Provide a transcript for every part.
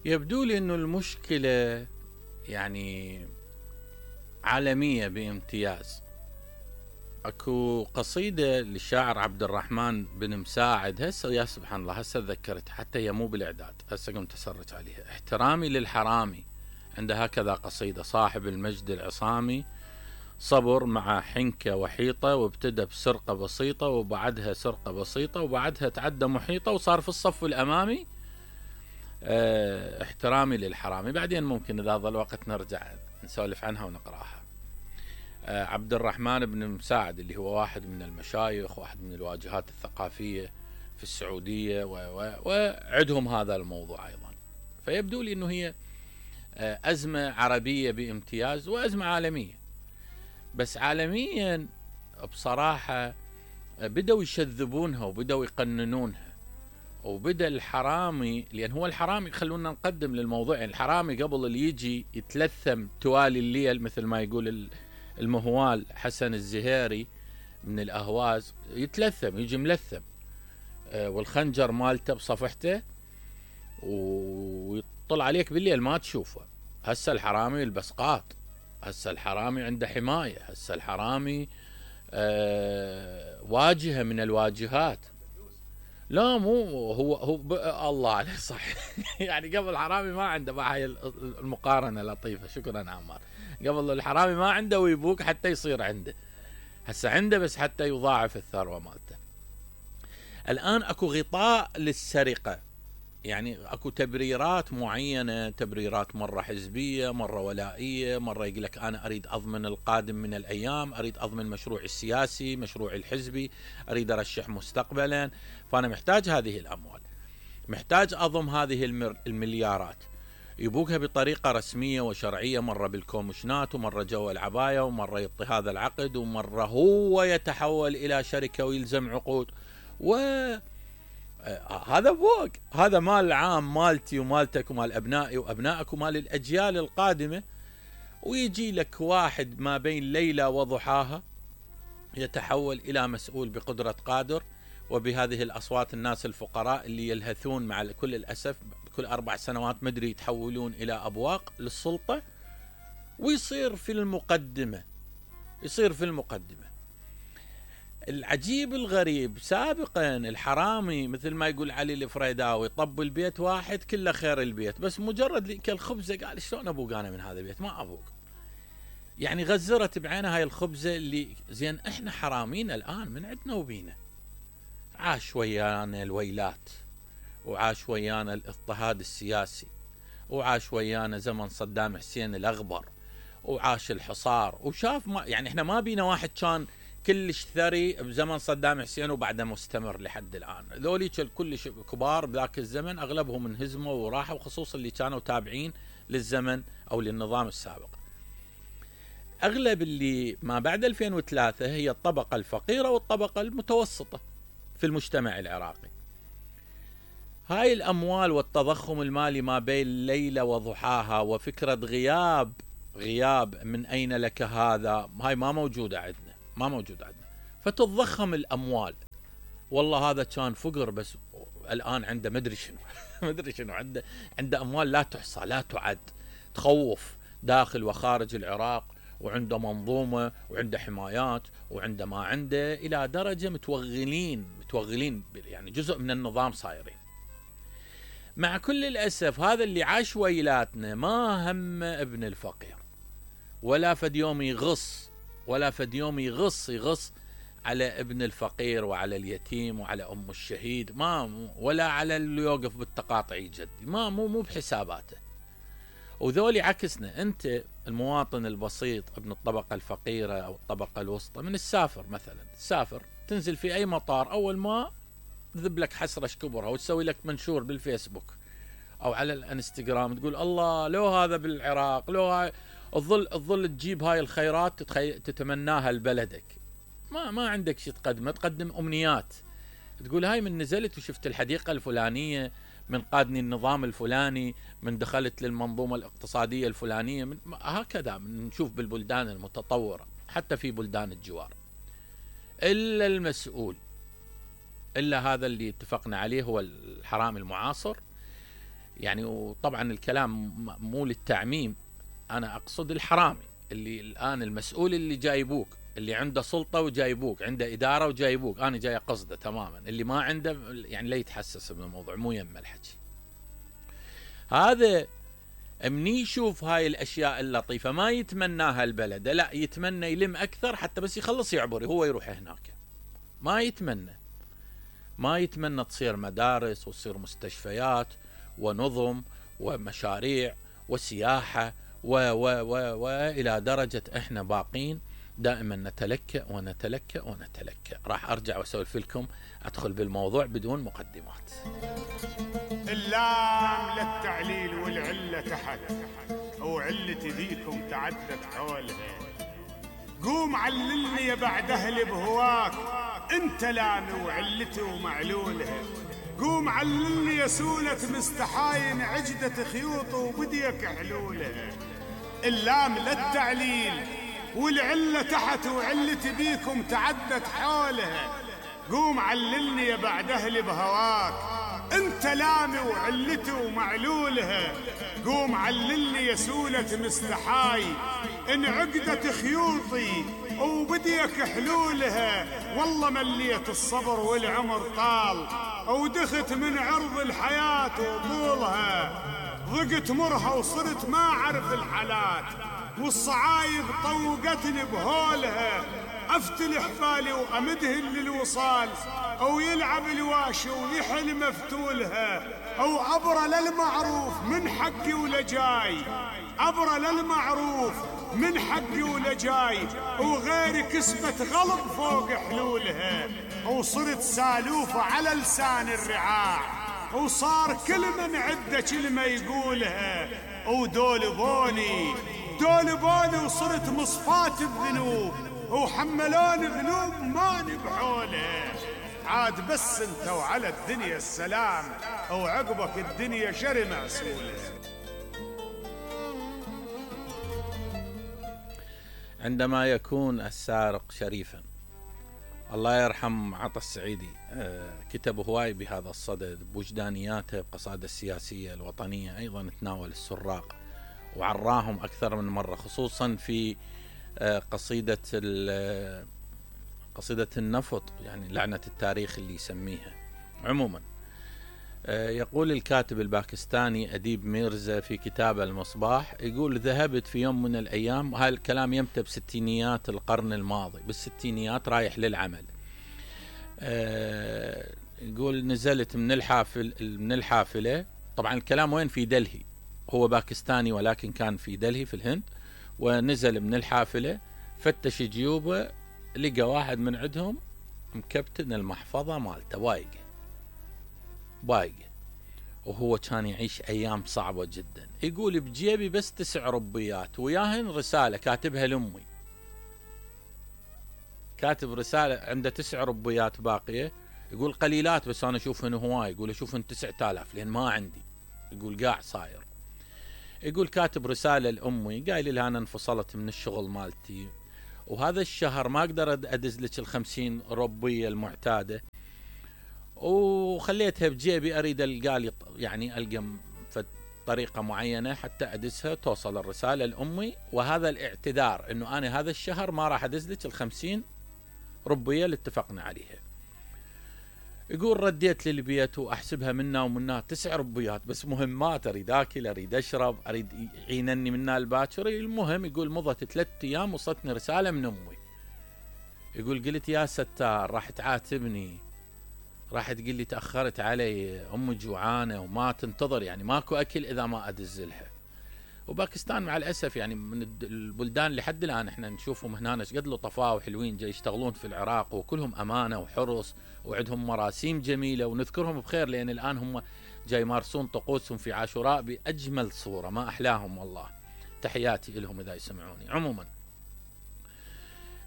يبدو لي انه المشكلة يعني عالمية بامتياز. اكو قصيدة للشاعر عبد الرحمن بن مساعد، هسه يا سبحان الله هسه تذكرت، حتى هي مو بالاعداد، هسه قمت اسرج عليها. احترامي للحرامي، عند هكذا قصيدة: صاحب المجد العصامي صبر مع حنكة وحيطة، وابتدى بسرقة بسيطة وبعدها سرقة بسيطة وبعدها تعدى محيطة وصار في الصف الأمامي. احترامي للحرامي، بعدين ممكن إذا ظل وقت نرجع نسولف عنها ونقرأها. عبد الرحمن بن مساعد اللي هو واحد من المشايخ، واحد من الواجهات الثقافية في السعودية، وعندهم هذا الموضوع أيضا. فيبدو لي أنه هي أزمة عربية بامتياز وأزمة عالمية. بس عالميا بصراحة بدأوا يشذبونها وبدأوا يقننونها، وبدأ الحرامي، لأن هو الحرامي خلونا نقدم للموضوع، يعني الحرامي قبل اللي يجي يتلثم توالي الليل مثل ما يقول المهوال حسن الزهيري من الأهواز، يتلثم يجي ملثم والخنجر مالته بصفحته ويطل عليك بالليل ما تشوفه. هسه الحرامي البسقاط، هسه الحرامي عنده حماية، هسه الحرامي واجهة من الواجهات. لا مو هو الله عليه صح. يعني قبل الحرامي ما عنده، مع هاي المقارنة لطيفة، شكرا عمار. قبل الحرامي ما عنده ويبوك حتى يصير عنده، هسه عنده بس حتى يضاعف الثروة مالته. الآن اكو غطاء للسرقة، يعني اكو تبريرات معينة، تبريرات مرة حزبية، مرة ولائية، مرة يقول لك انا اريد اضمن القادم من الايام، اريد اضمن مشروعي السياسي، مشروعي الحزبي، اريد ارشح مستقبلا، فانا محتاج هذه الاموال، محتاج اضم هذه المليارات. يبوكها بطريقة رسمية وشرعية، مرة بالكومشنات، ومرة جوا العباية، ومرة يعطي هذا العقد، ومرة هو يتحول الى شركة ويلزم عقود. هذا فوق، هذا مال عام، مالتي ومالتك ومال أبنائي وأبنائك ومال الأجيال القادمة. ويجي لك واحد ما بين ليلة وضحاها يتحول إلى مسؤول بقدرة قادر، وبهذه الأصوات الناس الفقراء اللي يلهثون مع كل الأسف كل 4 سنوات مدري يتحولون إلى أبواق للسلطة، ويصير في المقدمة، يصير في المقدمة. العجيب الغريب سابقا الحرامي مثل ما يقول علي الفريداوي طب البيت واحد كله خير البيت، بس مجرد كالخبزة قال شلون ابوق انا من هذا البيت؟ ما ابوق. يعني غزرت بعينها هاي الخبزة اللي زين. احنا حرامين الان من عندنا وبينا، عاش ويانا الويلات، وعاش ويانا الاضطهاد السياسي، وعاش ويانا زمن صدام حسين الاغبر، وعاش الحصار، وشاف ما يعني احنا ما بينا واحد كان كلش ثري بزمن صدام حسين وبعده مستمر لحد الآن. ذولي كلش كبار بذاك الزمن أغلبهم انهزموا وراحوا، وخصوصا اللي كانوا تابعين للزمن أو للنظام السابق. أغلب اللي ما بعد 2003 هي الطبقة الفقيرة والطبقة المتوسطة في المجتمع العراقي. هاي الأموال والتضخم المالي ما بين ليلة وضحاها وفكرة غياب من أين لك هذا، هاي ما موجودة عندنا، ما موجود عندنا. فتتضخم الأموال، والله هذا كان فقر بس الآن عنده مدري شنو مدري شنو، عنده أموال لا تحصى لا تعد، تخوف داخل وخارج العراق، وعنده منظومة وعنده حمايات وعنده ما عنده، إلى درجة متوغلين يعني جزء من النظام صايرين. مع كل الأسف هذا اللي عاش ويلاتنا ما هم ابن الفقير، ولا فد يوم يغص، ولا فد يوم يغص على ابن الفقير وعلى اليتيم وعلى أم الشهيد، ما ولا على اللي يوقف بالتقاطع يجدي، ما مو بحساباته. وذولي عكسنا، أنت المواطن البسيط ابن الطبقة الفقيرة أو الطبقة الوسطى، من السافر مثلا، تسافر تنزل في أي مطار، أول ما تذب لك حسرة كبرها وتسوي لك منشور بالفيسبوك أو على الانستغرام، تقول الله لو هذا بالعراق، لو هاي تظل تجيب هاي الخيرات تتمناها لبلدك، ما عندك شيء تقدم أمنيات، تقول هاي من نزلت وشفت الحديقة الفلانية، من قادني النظام الفلاني، من دخلت للمنظومة الاقتصادية الفلانية، هكذا نشوف بالبلدان المتطورة حتى في بلدان الجوار. إلا المسؤول، إلا هذا اللي اتفقنا عليه هو الحرامي المعاصر، يعني وطبعا الكلام مو للتعميم، أنا أقصد الحرامي اللي الآن المسؤول اللي جايبوك، اللي عنده سلطة وجايبوك، عنده إدارة وجايبوك، أنا جاي قصده تماما. اللي ما عنده يعني لا يتحسس من الموضوع، مو يم الحكي هذا. مني يشوف هاي الأشياء اللطيفة ما يتمناها البلد، لا يتمنى يلم أكثر حتى بس يخلص يعبر هو يروح هناك. ما يتمنى تصير مدارس وتصير مستشفيات ونظم ومشاريع وسياحة إلى درجة إحنا باقين دائما نتلكأ ونتلكأ ونتلكأ. راح أرجع وأسولف لكم، أدخل بالموضوع بدون مقدمات. اللام للتعليل والعلة تحت، وعلة ذيكم تعدت حولها. قوم عللني يا بعد أهلي بهواك، انت لامي وعلتي ومعلولها. قوم عللني يا سولة مستحاين عجدة خيوط وبديك حلولها. اللام للتعليل والعلة تحت، وعلتي بيكم تعدت حولها. قوم عللني يا بعد أهلي بهواك، انت لامي وعلتي ومعلولها. قوم عللني يا سولة مستحاي ان عقدة خيوطي وبديك حلولها. والله مليت الصبر والعمر طال، ودخت من عرض الحياة وطولها. ضقت مرها وصرت ما اعرف الحالات، والصعايب طوقتني بهولها. افتل حبالي وامدهن للوصال، او يلعب الواشي ويحل مفتولها. او عبر للمعروف من حقي ولجاي، عبر للمعروف من حقي ولجاي. وغيري كسبت غلط فوق حلولها، وصرت سالوفة على لسان الرعاع. وصار كل من عده كلمة يقولها. ودول بوني وصرت مصفات الذنوب، وحملون ذنوب ما نبحولها. عاد بس انت وعلى الدنيا السلام، وعقبك الدنيا شر معسولة. عندما يكون السارق شريفا، الله يرحم عطا السعيدي كتب هواي بهذا الصدد بوجدانياته، بقصائده السياسية الوطنية أيضا تناول السراق وعراهم أكثر من مرة، خصوصا في قصيدة النفط، يعني لعنة التاريخ اللي يسميها. عموما يقول الكاتب الباكستاني أديب ميرزا في كتابه المصباح، يقول ذهبت في يوم من الأيام، وهذا الكلام يمتى بستينيات القرن الماضي، بالستينيات رايح للعمل. يقول نزلت من الحافلة، طبعا الكلام وين؟ في دلهي، هو باكستاني ولكن كان في دلهي في الهند. ونزل من الحافلة فتش جيوبه، لقى واحد من عندهم مكبتن المحفظة مالته بايقة، وهو كان يعيش أيام صعبة جدا. يقول بجيبي بس 9 ربيات، وياهن رسالة كاتبها لأمي، كاتب رسالة عنده 9 ربيات باقية. يقول قليلات بس أنا أشوفهن هواي، يقول أشوفهن 9000 لأن ما عندي. يقول قاع صاير. يقول كاتب رسالة لأمي قايل لها أنا انفصلت من الشغل مالتي، وهذا الشهر ما أقدر أدز لك 50 ربية المعتادة، وخليتها بجيبي أريد ألقى طريقة معينة حتى أدزها توصل الرسالة لأمي، وهذا الاعتذار إنه أنا هذا الشهر ما راح أدز لك 50 ربية اللي اتفقنا عليها. يقول رديت للبيت وأحسبها منا ومنا 9 ربيات بس مهمات، أريد أكل، أريد أشرب، أريد يعينني منا الباكر. المهم يقول مضت 3 أيام وصلتني رسالة من أمي. يقول قلت يا ستار راح تعاتبني، راح تقول لي تأخرت علي، أمي جوعانة وما تنتظر، يعني ماكو أكل إذا ما أدز لها. وباكستان مع الأسف يعني من البلدان اللي حد الآن احنا نشوفهم هنا قد لطفاء وحلوين جاي يشتغلون في العراق، وكلهم أمانة وحرص وعندهم مراسيم جميلة ونذكرهم بخير، لأن الآن هم جاي يمارسون طقوسهم في عاشوراء بأجمل صورة، ما أحلاهم والله. تحياتي لهم إذا يسمعوني. عموما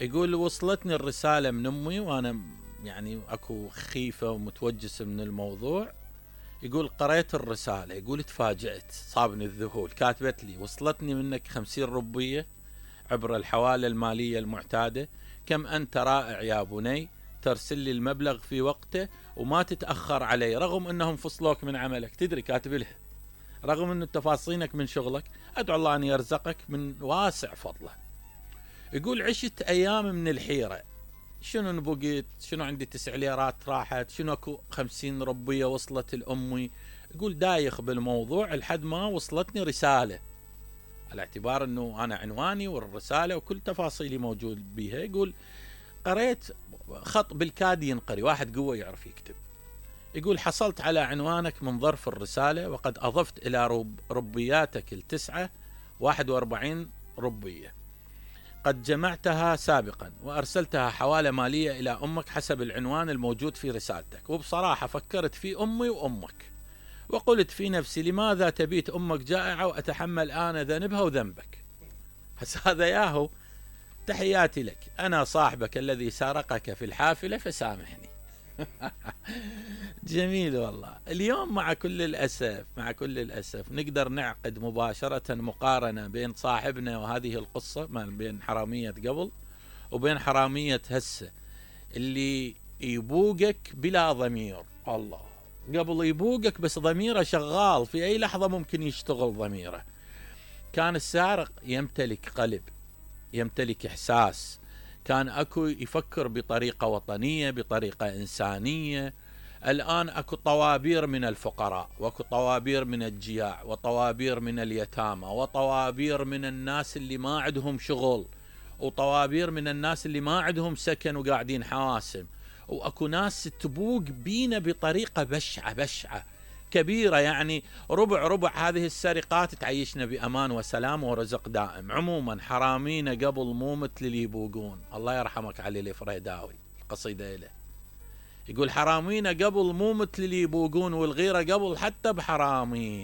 يقول وصلتني الرسالة من أمي وأنا يعني أكو خيفة ومتوجس من الموضوع. يقول قرأت الرسالة، يقول تفاجأت، صابني الذهول. كاتبت لي وصلتني منك 50 ربية عبر الحوالة المالية المعتادة، كم أنت رائع يا بني، ترسل لي المبلغ في وقته وما تتأخر علي رغم أنهم فصلوك من عملك. تدري كاتب لها رغم أن تفاصيلك من شغلك، أدعو الله أن يرزقك من واسع فضله. يقول عشت أيام من الحيرة، شنو نبقيت، شنو عندي 9 ليرات راحت، شنو اكو 50 ربية وصلت لأمي. يقول دايخ بالموضوع لحد ما وصلتني رسالة، على اعتبار أنه أنا عنواني والرسالة وكل تفاصيلي موجود بيها. يقول قريت خط بالكاد ينقري، واحد قوة يعرف يكتب. يقول حصلت على عنوانك من ظرف الرسالة، وقد أضفت إلى ربياتك ال9 41 ربية قد جمعتها سابقا، وأرسلتها حوالة مالية إلى أمك حسب العنوان الموجود في رسالتك. وبصراحة فكرت في أمي وأمك، وقلت في نفسي لماذا تبيت أمك جائعة وأتحمل أنا ذنبها وذنبك. بس هذا ياهو. تحياتي لك، أنا صاحبك الذي سارقك في الحافلة فسامحني. جميل والله. اليوم مع كل الأسف نقدر نعقد مباشرة مقارنة بين صاحبنا وهذه القصة، ما بين حرامية قبل وبين حرامية هسه، اللي يبوقك بلا ضمير. الله، قبل يبوقك بس ضميره شغال، في أي لحظة ممكن يشتغل ضميره. كان السارق يمتلك قلب، يمتلك إحساس، كان أكو يفكر بطريقة وطنية، بطريقة إنسانية. الآن أكو طوابير من الفقراء، وأكو طوابير من الجياع، وطوابير من اليتامى، وطوابير من الناس اللي ما عندهم شغل، وطوابير من الناس اللي ما عندهم سكن وقاعدين حواسم. وأكو ناس تبوق بينا بطريقة بشعة كبيرة، يعني ربع هذه السرقات تعيشنا بأمان وسلام ورزق دائم. عموما حرامينا قبل مو مثل اللي يبوقون. الله يرحمك علي الفريداوي، القصيدة له يقول حرامينا قبل مو مثل اللي يبوقون، والغيرة قبل حتى بحرامين.